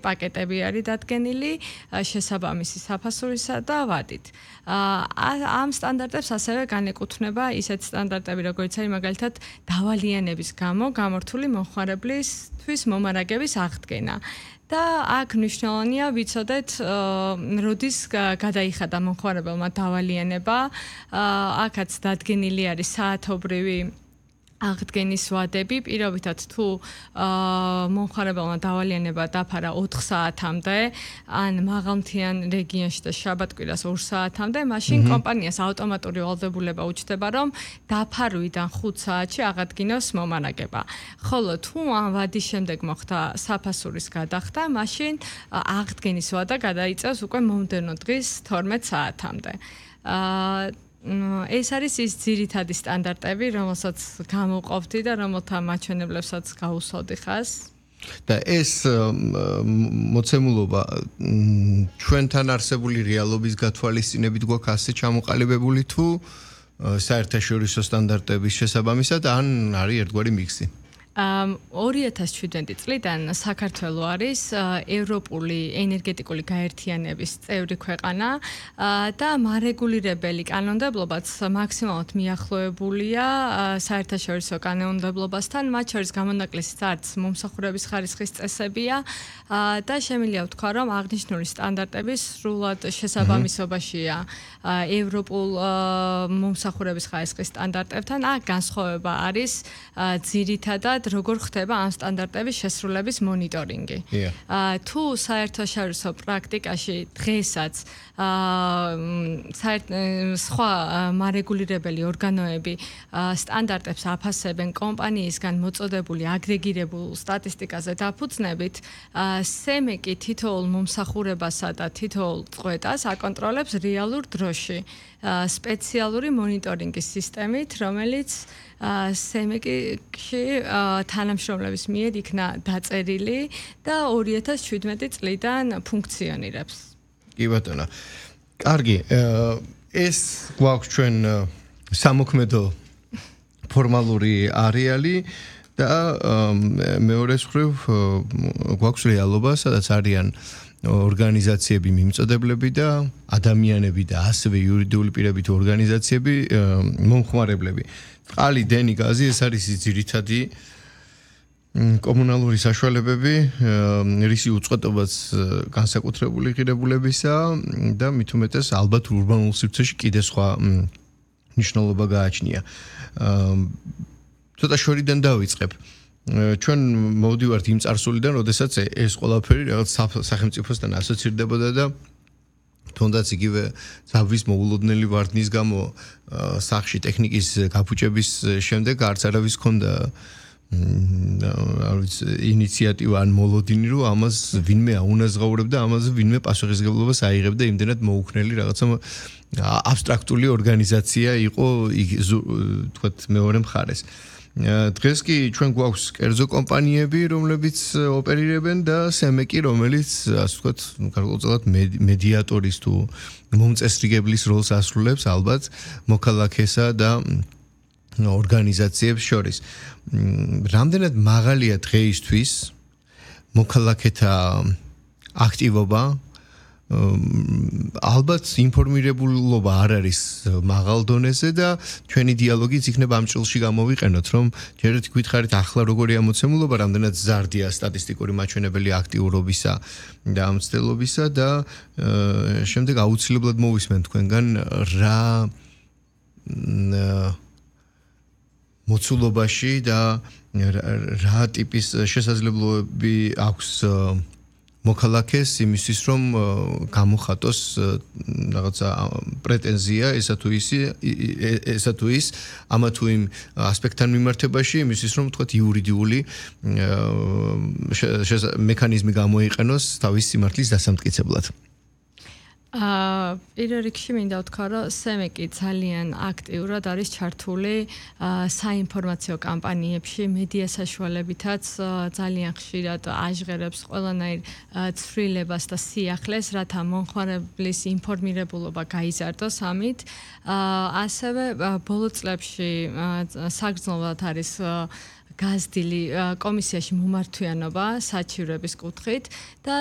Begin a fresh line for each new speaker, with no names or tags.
პაკეტები არის დადგენილი შესაბამისი საფასურისა და ვადით. ამ სტანდარტებს ასევე განეკუთვნება ისეთ სტანდარტები, როგორც არის მაგალითად დავალიანების გამო გამორთული მომხმარებლისთვის მომარაგების აღდგენა. და აქ მნიშვნელოვანია ვიცოდეთ, როდის გადაიხადა მომხმარებელმა დავალიანება, აქაც დადგენილი არის საათობრივი აღდგენის ვადები, პირობითად თუ მომხმარებელმა დავალიანება დაფარა 4 საათამდე, ან მაღალმთიან რეგიონში და შაბათ-კვირას 2 საათამდე, მაშინ კომპანიას ავტომატური ვალდებულება უჩნდება, რომ დაფარვიდან 5 საათში აღადგინოს მომარაგება. ხოლო თუ ამ ვადის შემდეგ მოხდა საფასურის გადახდა, მაშინ აღდგენის ვადა გადაიწევს უკვე მომდევნო დღის 12 საათამდე. ეს არის ის ძირითადი სტანდარტები, რომელსაც გამოვყოფდი და რომელთა მაჩვენებლებსაც გავუსვავდი ხას.
და ეს მოცემულობა ჩვენთან არსებული რეალობის გათვალისწინებით გვაქვს ასე ჩამოყალიბებული თუ საერთაშორისო სტანდარტების შესაბამისად ან არის ერთგვარი მიქსი?
2017 წლიდან საქართველო არის ევროპული ენერგეტიკული გაერთიანების წევრი ქვეყანა და მარეგულირებელი კანონმდებლობაც მაქსიმალურად მიახლოებულია საერთაშორისო კანონმდებლობასთან, მათ შორის გამონაკლისიც არც მომსახურების ხარისხის წესებია და შემიძლია ვთქვა, რომ აღნიშნული სტანდარტები სრულად შესაბამისობაშია ევროპულ მომსახურების ხარისხის სტანდარტებთან. აქ განსხვავება არის ძირითადად როგორ ხდება ამ სტანდარტების შესრულების მონიტორინგი. თუ საერთაშორისო პრაქტიკაში დღესაც სხვა მარეგულირებელი ორგანოები სტანდარტებს აფასებენ კომპანიისგან მოწოდებული აგრეგირებულ სტატისტიკაზე დაფუძნებით, სემეკი თითოეულ მომსახურებასა და თითოეულ წყვეტას აკონტროლებს რეალურ დროში სპეციალური მონიტორინგის სისტემით, რომელიც სემეკში თანამშრომლების მიერ იქნა დაწერილი და 2017 წლიდან ფუნქციონირებს.
კი ბატონო. კარგი, ეს გვაქვს ჩვენ სამოქმედო ფორმალური არეალი და მეორე მხრივ გვაქვს რეალობა, სადაც არიან ორგანიზაციები, მიმწოდებლები და ადამიანები და ასევე იურიდიული პირები თუ ორგანიზაციები, მომხმარებლები. წყალი, დენი, გაზი, ეს არის ძირითადი კომუნალური საშუალებები, რისი უწყვეტობაც განსაკუთრებული ღირებულებისა და მით უმეტეს ალბათ ურბანულ სივრცეში კიდე სხვა მნიშვნელობა გააჩნია. ცოტა შორიდან დავიწყებ. ჩვენ მოვდივართ იმ წარსულიდან, როდესაც ეს ყველაფერი რაღაც სახელმწიფოსთან ასოცირდებოდა და თუნდაც იგივე ზავის მოულოდნელი ვარდნის გამო სახში ტექნიკის გაფუჭების შემდეგ არც არავის ჰქონდა ინიციატივა ან მოლოდინი, რომ ამას ვინმე აუნაზღაურებდა, ამაზე ვინმე პასუხისმგებლობას აიღებდა, იმდენად მოუქნელი რაღაცა აბსტრაქტული ორგანიზაცია იყო, თქვათ, მეორე მხარეს. დღეს კი ჩვენ გვაქვს კერძო კომპანიები, რომლებიც ოპერირებენ და სემეკი, რომელიც ასე ვთქვათ, გარკვეულწილად მედიატორის თუ მომწესრიგებლის როლს ასრულებს ალბათ მოქალაქესა და ორგანიზაციებს შორის. რამდენად მაღალია დღეისთვის მოქალაქეთა აქტივობა? ალბათ ინფორმირებულობა არ არის მაღალ დონეზე და ჩვენი დიალოგიც იქნება ამ ჭრილში გამოვიყენოთ, რომ ჯერ ერთი გითხარით ახლა როგორია მოცემულობა, რამდენად ზარდია სტატისტიკური მაჩვენებელი აქტიურობისა და ამ ცდელობისა და შემდეგ აუცილებლად მოვისმენთ თქვენგან რა მოცულობაში და რა ტიპის შესაძლებლობები აქვს მოქალაქეს იმისთვის, რომ გამოხატოს რაღაცა პრეტენზია ესა თუ ის ამა თუ იმ ასპექტთან მიმართებაში, იმისთვის, რომ თქვათ იურიდიული მექანიზმი გამოიყენოს თავის სიმართლის დასამტკიცებლად.
პირველ რიგში მინდა ვთქვა, რომ სემეკი ძალიან აქტიურად არის ჩართული საინფორმაციო კამპანიებში, მედია საშუალებითაც ძალიან ხშირად აჟღერებს ყველანაირ ცვლილებას და სიახლეს, რათა მომხმარებლის ინფორმირებულობა გაიზარდოს ამით. ასევე ბოლო წლებში საგრძნობლად არის გაზრდილი კომისიაში მომართვიანობა საჩივრების კუთხით და